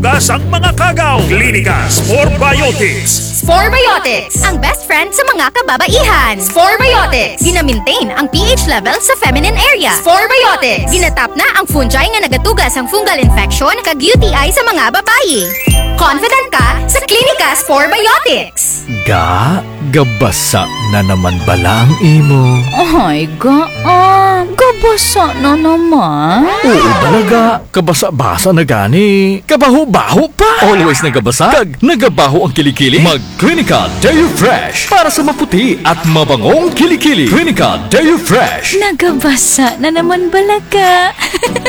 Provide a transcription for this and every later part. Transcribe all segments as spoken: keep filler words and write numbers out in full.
Asang mga kagaw, Klinika Spore Biotics. Spore Biotics, ang best friend sa mga kababaihan. Spore Biotics, gina-maintain ang P H level sa feminine area. Spore Biotics, ginatap na ang fungi nga nagatuga sang fungal infection kag U T I sa mga babayi. Confident ka sa Klinika Spore Biotics. Ga, gabasa na naman bala ang imo? Ay, ga, ah, gabasa na naman? Oo bala, ga. Kabasa-basa na gani. Kabaho-baho pa. Always nagabasa kag nagabaho ang kilikili? Mag Klinika Deo Fresh para sa maputi at mabangong kilikili. Klinika Deo Fresh. Nagabasa na naman bala, ga.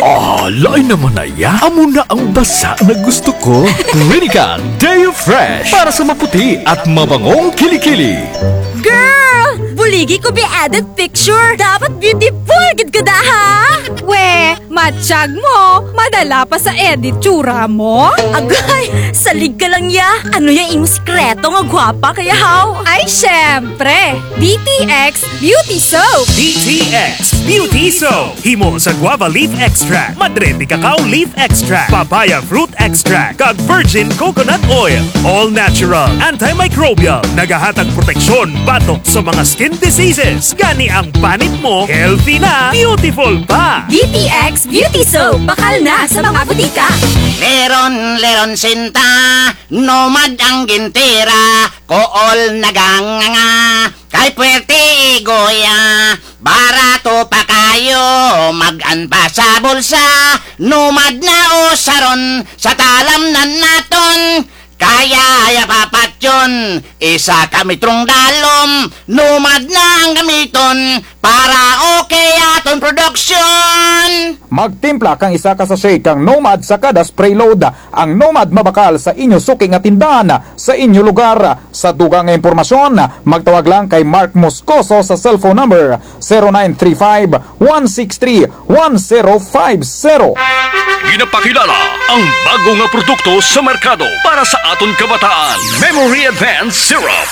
Ah, lain naman na ya. Amo na ang basa na gusto ko. Klinika Deo Fresh para sa maputi at mabangong kilikili. Girl! Buligi ko bi edit picture. Dapat beautiful gid ka da, ha? We, matyag mo, madala pa sa edit tsura mo? Agay, salig ka lang ya. Ano ya imo sikreto nga gwapa ka ya, haw? Ay, syempre, D T X Beauty Soap. D T X Beauty Soap. Himo sa guava leaf extract, madre de cacao leaf extract, papaya fruit extract, kag virgin coconut oil. All natural, antimicrobial, nagahatag proteksyon batok sa mga skin diseases. Gani ang panit mo, healthy na, beautiful pa. D T X Beauty Soap, bakal na sa mga butika. Leron, leron sinta, Nomad ang gintira, kool naganganga. Kay puwerte igoya, barato pa kayo, mag-an pa sa bulsa. Nomad na usaron, sa talamnan naton. Kaya ya papatyon, isa ka metrong dalom. Nomad na ang gamiton, para okay aton production. Magtimpla kang isa ka sachet kang Nomad sa kada spray load. Ang Nomad mabakal sa inyo suki nga tindahan, sa inyo lugar. Sa dugang nga impormasyon, magtawag lang kay Mark Moscoso sa cellphone number zero nine three five, one six three, one zero five zero. Ginapakilala ang bago nga produkto sa merkado para sa aton kabataan, Memory Advance Syrup.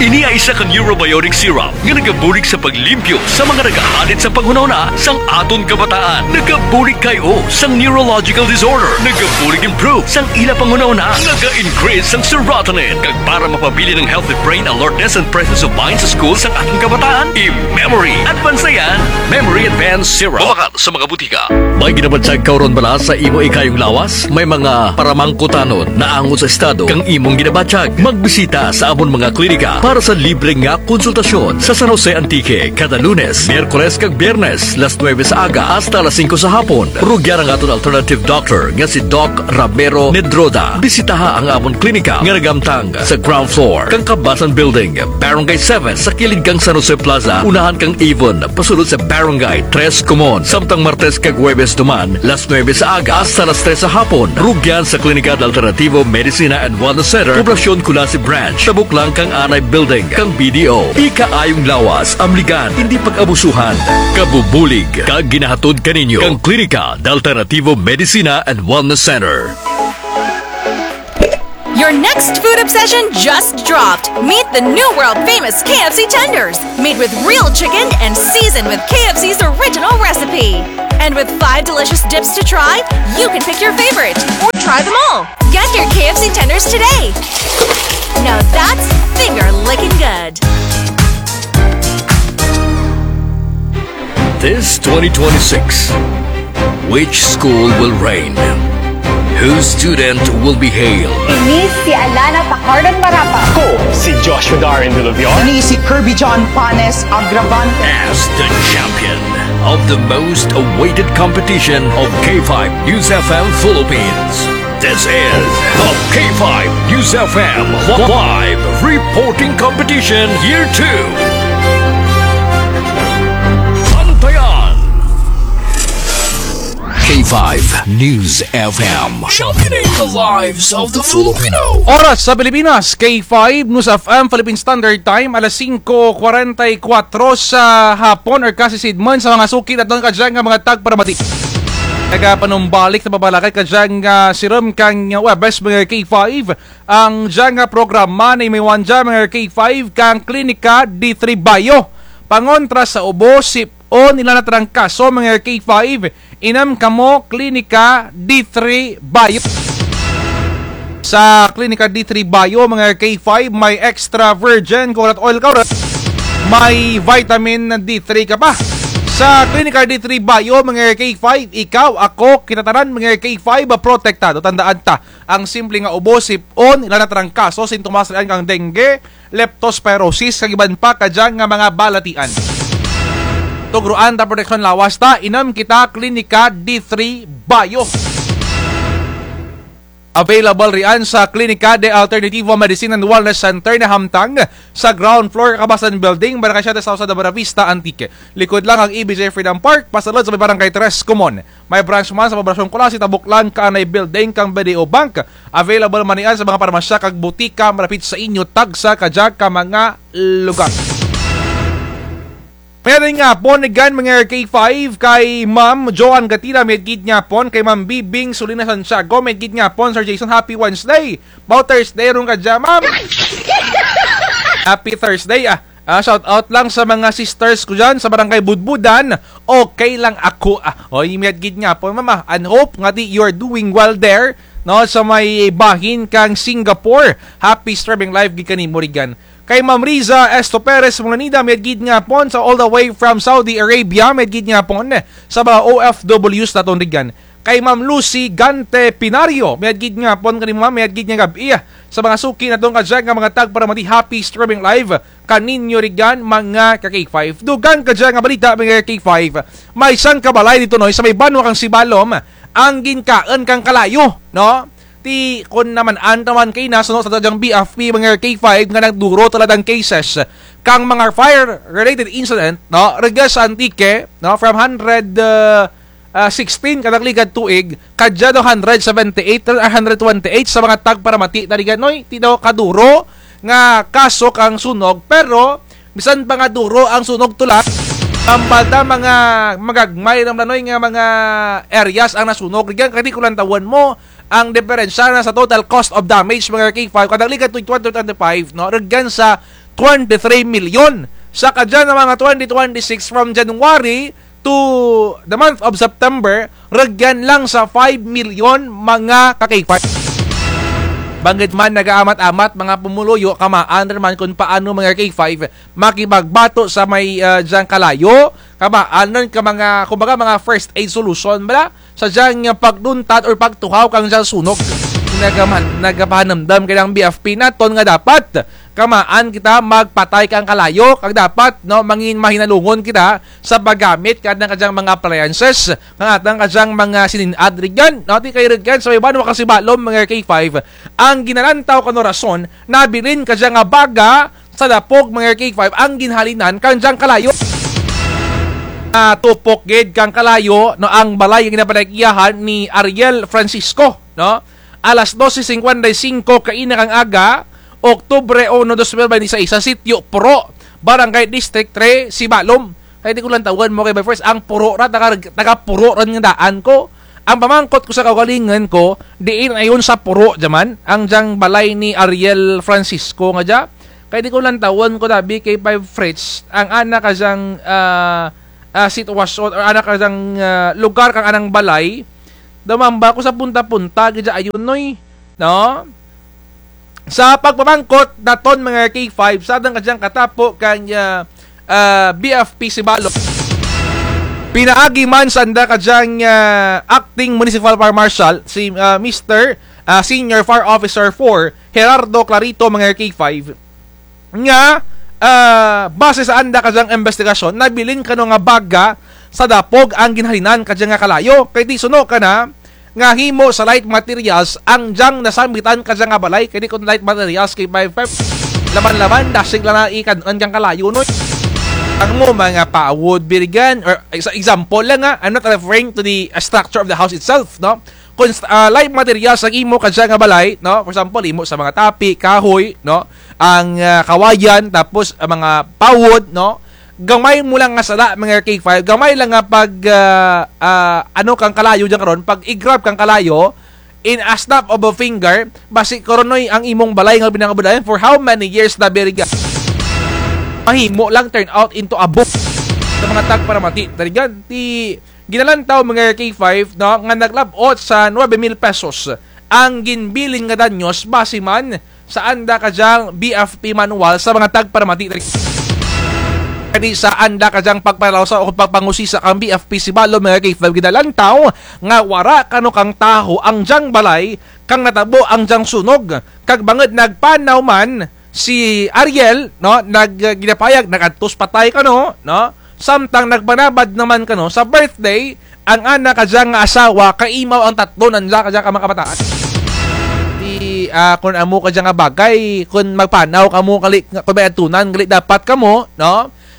Ini ay isa ka neurobiotic syrup nga nagabulig sa paglimpyo sa mga nagahalit sa panghunahuna sang aton kabataan. Nagabulig kay o sang neurological disorder. Nagabulig improve sang ila panghunahuna. Naga-increase sang serotonin. Kag para mapabilin ang healthy brain alertness and presence of mind sa school sang aton kabataan, i-Memory Advance na yan. Memory Advance Syrup. Mabakal sa mga butika. May ginabatyag ka run bala sa imo ikayong lawas? May mga paramangkutanon naangot sa estado kang imong ginabatyag? Magbisita sa amon mga klinika para sa libre nga konsultasyon sa San Jose, Antique, kada Lunes, Miyerkules kag Biyernes, las nuebe sa aga hasta las singko sa hapon. Rugyan ang aton alternative doctor nga si Doc Ramiro Nedroda. Bisitaha ang amon klinika nga naghamtang sa ground floor kang Kabasan Building, Barangay seven, sa kilid kang San Jose Plaza, unahan kang Avon, pasulod sa Barangay Tres Comon. Samtang Martes kag Huwebes duman, las nuebe sa aga hasta las tres sa hapon. Rugyan sa Klinika de Alternativo Medicina and Wellness Center, Poblacion Culasi Branch, tabok lang kang anay building kang B D O. Ikaayong lawas, amligan, indi pag-abusuhan. Kabubulig kag ginahatod kaninyo kang Klinika de Alternativo Medicina and Wellness Center. Your next food obsession just dropped. Meet the new world famous K F C tenders, made with real chicken and seasoned with K F C's original recipe. And with five delicious dips to try, you can pick your favorite or try them all. Get your K F C tenders today. Now that's finger licking good. This twenty twenty-six, which school will reign? Whose student will be hailed? Ini si Alana Pacardan Marapa. Ako si Joshua Darren Villavior. Ini si Kirby John Panes Agravan. As the champion of the most awaited competition of K five News F M Philippines. This is the K five News F M live reporting competition year two. Bantayan. K five News F M, championing the lives of the Filipino. Oras sa Pilipinas, K five News F M Philippine Standard Time, alas singko kwarenta y kwatro sa hapon, or kasidman sa mga suki naton kadya nga mga tagparamati. Nagapanumbalik ta pabalakat kadya nga sirum kang Huwebes, mga K five. Ang dya nga programa ni Miwanja, mga K five, kang Klinika D three Bio. Pangontra sa ubo, sip-on, ila na trangkaso, mga K five. Inam kamo Klinika D three Bio. Sa Klinika D three Bio, mga K five, may extra virgin coconut oil ka, may vitamin D three ka pa. Sa Klinika D three Bio, mga K five, ikaw, ako, kita tanan, mga K five, protektado. Tandaan ta, ang simple nga ubo, sip-on, ila na trangkaso, sintomas rian kang dengue, leptospirosis, kag iban pa kadya nga mga balatian. Tugroan ta proteksyon lawas ta, inom kita Klinika D three Bio. Available rian sa Klinika de Alternativo Medicine and Wellness Center na hamtang sa ground floor, Kabasan Building, Barangay Siete South, sa Buenavista, Antique. Likod lang ang E B J Freedom Park, pasulod sa may Barangay Tres Comon. May branch man sa Poblacion Culasi, tabok lang kaanay building kang B D O Bank. Available man rian sa mga parmasya kag butika malapit sa inyo, tagsa kadya ka mga lugar. Mayad nga hapon, again, mga K five, kay Ma'am Joan Gatira, mayad gid nga hapon, kay Ma'am Bibing Sulina Santiago, mayad gid nga hapon, Sir Jason, happy Wednesday. Bao Thursday run kadya, Ma'am. Happy Thursday, ah. Ah, shout out lang sa mga sisters ko dyan sa Barangay Budbudan. Okay lang ako, ah. Oy, mayad gid nga hapon, Ma'am, ah. And hope nga di you're doing well there, no, sa may bahin kang Singapore. Happy streaming live gid kanimo rigan. Kay Ma'am Riza Esto Perez Mulanida, mayad gid nga hapon sa all the way from Saudi Arabia, mayad gid nga hapon sa mga O F Ws naton rigan. Kay Ma'am Lucy Gante Pinario, mayad gid nga hapon kanimo, Ma'am, mayad gid nga gab-i sa mga suki naton kadya nga mga tagparamati, happy streaming live kaninyo rigan, mga ka K five. Dugang kadya nga balita, mga ka K five. May sangka balay dito, no, sa may banwa kang Sibalom, ang ginkaon kang kalayo, no? Ti kon naman-an ta man kaina suno sa dyang B F P, mga K five, nga nagduro talaga ang cases kang mga fire-related incident, no? Rugya sa Antique, no? From hundred, uh, uh, sixteen kadagligad tuig, kadya daw hundred seventy-eight or hundred twenty-eight sa mga tagparamati na rigan, noy. Ti daw kaduro nga kaso kang sunog, pero bisan pa nga duro ang sunog, tula, tambal ta mga magagmay ra man, noy, nga mga areas ang nasunog rigan. Kay ti ko lantawon mo, ang diperensya na sa total cost of damage, mga K five, kadagligad tuig twenty twenty-five, no, rugyan sa twenty-three million. Sa kadya nga mga twenty twenty-six, from January to the month of September, rugyan lang sa five million, mga ka K five. Bangud man nagaamat-amat mga pumuluyo, kamaan ra man kon paano, mga K five, makipagbato sa may, ah, dyang kalayo, kamaan ra ka mga, kumbaga, mga first aid solution bala sa dyang pagduntad or pagtuhaw kang dyang sunog. Nagaman-, nagapahanumdum kang B F P naton nga dapat kamaan kita magpatay kang kalayo, kag dapat, no, mangin-, mahinalungon kita sa paggamit kang atun kadyang mga appliances, kang atun kadyang mga sinin-ad rigan, no, ti kay rigan sa may banwa kang Sibalom, mga K five, ang ginalantaw kang rason, nabilin kadya nga baga sa dapog, mga K five, ang ginhalinan kang dyang kalayo. Ah, tupok gid kang kalayo, no, ang balay nga ginapanag-iyahan ni Ariel Francisco, no? Alas dose singkwenta y singko kaina kang aga, Oktubre uno, dos mil bente seis, sa Sitio Puro, Barangay District three, Sibalom. Kay ti ko lantawon mo kay by first, ang Puro ra, taga, taga Puro ra nga daan ko. Ang pamangkot ko sa kaugalingon ko, diin ayon sa Puro dya man, ang dyang balay ni Ariel Francisco nga dya. Kay ti ko lantawon ko, tabi kay Five Fritz, ang ana kadyang, ah, ah, sitwasyon, or ana kadyang, ah, lugar kang anang balay, daw mamba ko sa punta-punta gid dya ayon, noy. No? Sa pagpamangkot naton, mga K five, sa atun kadyang katapo kang, ah, ah, B F P Sibalom, pinaagi man sanda kadyang, ah, Acting Municipal Fire Marshal, si, ah, Mister, ah, Senior Fire Officer four, Gerardo Clarito, mga K five, nga, ah, base sa anda kadyang imbestigasyon, nabilin kano nga baga sa dapog ang ginhalinan kadya nga kalayo. Kay ti suno kana nga himo sa light materials ang dyang nasambitan kadya nga balay. Kay ti kon light materials kay five five, laman-laman, dasig lang na ikan-an dyang kalayo, no? Ang mo mga pawod, birigan, or sa example lang, ha, I'm not referring to the, uh, structure of the house itself, no? Kon, ah, light materials ang imo kadya nga balay, no? For example, imo sa mga tapi, kahoy, no? Ang, ah, kawayan, tapos ang mga pawod, no? Gamay mo lang nga sala, mga K five, gamay lang nga pag, ah, ah, ano kang kalayo dyan karon, pag i-grab kang kalayo, in a snap of a finger, basi karon, noy, ang imong balay nga binangabulayan for how many years na biriga. Mahimo lang turn out into a book sa mga tagparamati. Darigan, ti ginalantaw, mga K five, no, nga naglab-ot sa nuebe mil pesos ang ginbilin nga danyos base man sa anda kadyang B F P manual sa mga tagparamati. Kani sa anda kadyang pagpanalawsa o pagpangusisa kang B F P Sibalom mga K five, ginalantaw nga wara kano kang taho ang dyang balay kang natabo ang dyang sunog, kag bangud nagpanaw man si Ariel, no, nag, ginapayag, nag-adto sa patay kano, no, samtang nagpanabad naman kano sa birthday ang ana kadya nga asawa, kaimaw ang tatlo nanda kadya ka mga kabataan. Di, ah, kun amo kadya nga bagay, kun magpanaw kamo gali, kun may adtunan gali dapat kamo, no?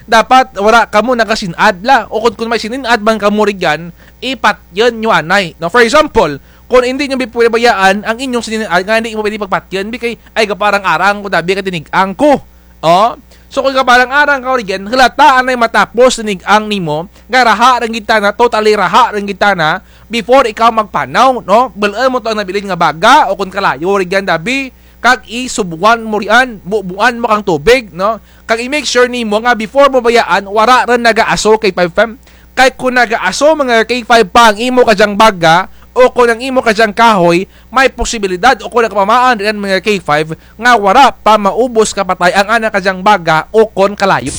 Dapat wara kamo nagasin-ad la, o kun, kun may sinin-ad man kamo rugyan, ipatyon nyo anay, no? For example, kun indi nyo bi pwede bayaan ang inyong sinin-ad nga indi mo pwede pagpatyon, bi kay, ay, gapaarang-arang ko dabi kay tinig-ang ko. O, so kun gapaarang-arang ka rugyan, halata anay matapos tinig-ang nimo, nga raha run gid tana, totally raha run gid tana, before ikaw magpanaw, no? Bul-un mo to ang nabilin nga baga, o kun kalayo rugyan dabi, kag isubuan mo rian, bubuan mo kang tubig, no? Kag i-make sure nimo nga before mo bayaan, wara run nagaaso kay five fam. Kay kun nagaaso, mga K five, pa ang imo kadyang baga, o kun ang imo kadyang kahoy, may posibilidad o kun nagpamaan rian, mga K five, nga wara pa maubos kapatay ang ana kadyang baga o kun kalayo.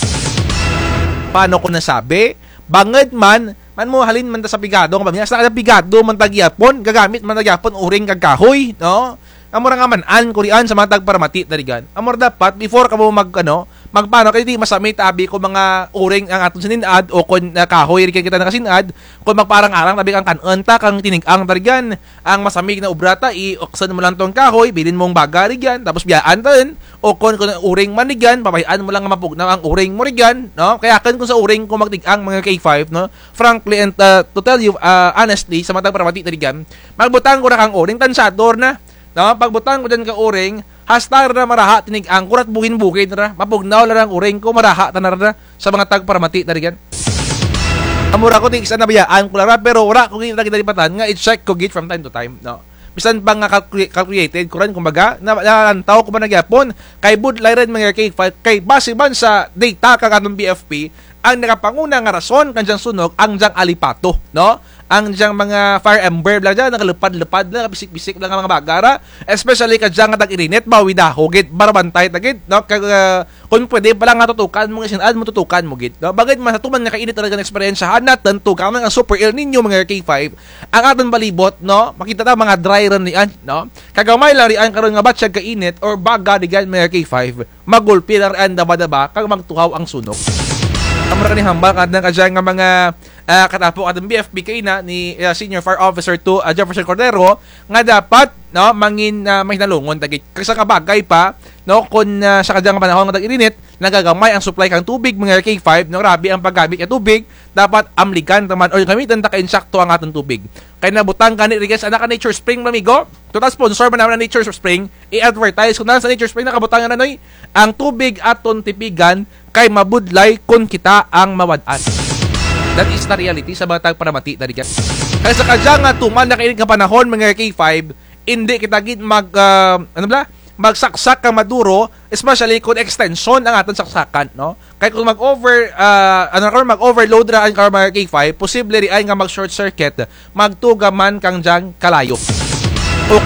Paano ko nasabi? Bangud man, man mo halin man ta sa pigado, nga pamilya, sa kada pigado man ta gihapon, gagamit man ta gihapon uring kag kahoy, no? Amo ra nga man-an ko rian sa mga tagparamati ta rugyan. Amo ra dapat, before kamo mag, ano, magpanaw, kay di masami ta abi ko mga uring ang aton sinin-ad o kun, ah, kahoy rugyan kita nagasin-ad, kun magpaarang-arang, tabi kang kan-un ta, kang tinig-ang ta rugyan. Ang masami nga obra ta, iuksan mo lang tong kahoy, bilin mong baga rugyan, tapos biyaan ta run, o kun, kun uring man rugyan, pabay-an mo lang nga mapugnaw ang uring mo rugyan, no? Kay akun kun sa uring ko magtig-ang mga K five, no? Frankly and, ah, to tell you, ah, honestly, sa mga tagparamati ta rugyan, magbutang ko ra kang uring, tansyado ra na. No, pagbutang ko dyan ka uring, hasta ra maraha tinig-ang ko ra't buhin-buhin ra, mapugnaw ra ang uring ko, maraha tana ra sa mga tagparamati ta rugyan. Amo ra ko, tig-isa nabayaan ko lang ra, pero wara ko gid ra ginalipatan nga i-check ko gid from time to time, no. Bisan pa nga calcu-, calculated ko ran, kumbaga, na, nalantaw ko man na gihapon, kay budlay ran mga K five, kay base man sa data kang atong B F P, ang nakapanguna nga rason kang dyang sunog, ang dyang alipato, no? Ang dyang mga fire ember lang dyan, nagalupad-lupad lang, bisik-bisik lang ang mga baga ra. Especially kadya nga tag-irinit, bawi daho gid, barabantay ta gid, no? Kag, ah, kun pwede pa lang nga tutukan mo, nga sin-ad mo tutukan mo gid, no? Bangud man sa tuman nga kainit talaga nga eksperyensyahan natun, tuga man ang Super El Niño, mga K five, ang atun palibot, no? Makita ta, mga dry run rian, no? Kagamay lang rian karon nga batyag kainit or baga rugyan, mga K five, magulpi lang rian daba-daba, kag magtuhaw ang sunog. Amo ra kani hambal kang kadya nga mga, ah, katapo kang B F P kaina ni, ah, Senior Fire Officer two, ah, Jefferson Cordero, nga dapat, no, mangin, ah, mahinalungon ta gid. Kag sa kabagay pa, no, kun, ah, sa kadya nga panahon nga tag-irinit, nagagamay ang supply kang tubig, mga K five, no, grabe ang paggamit kang tubig, dapat amligan ta man or gamitan ta kang insakto ang atun tubig. Kay nabutang gani rugyan sa ana ka Nature Spring, mga amigo. Total sponsor man namun ang Nature Spring. I-advertise ko na sa Nature Spring, nakabutang na, noy. Ang tubig atun tipigan kay mabudlay kun kita ang mawad-an. That is the reality sa mga tagparamati ta rugyan. Kay sa kadya nga tuman nga kainit nga panahon, mga K five, indi kita gid mag, ah, ano bala? Magsaksak kang maduro, especially kun extension ang atun saksakan, no? Kay kun mag-over, ah, ano karon, mag-overload ra ang karon mga K five, posible rian nga mag-short circuit, magtuga man kang dyang kalayo.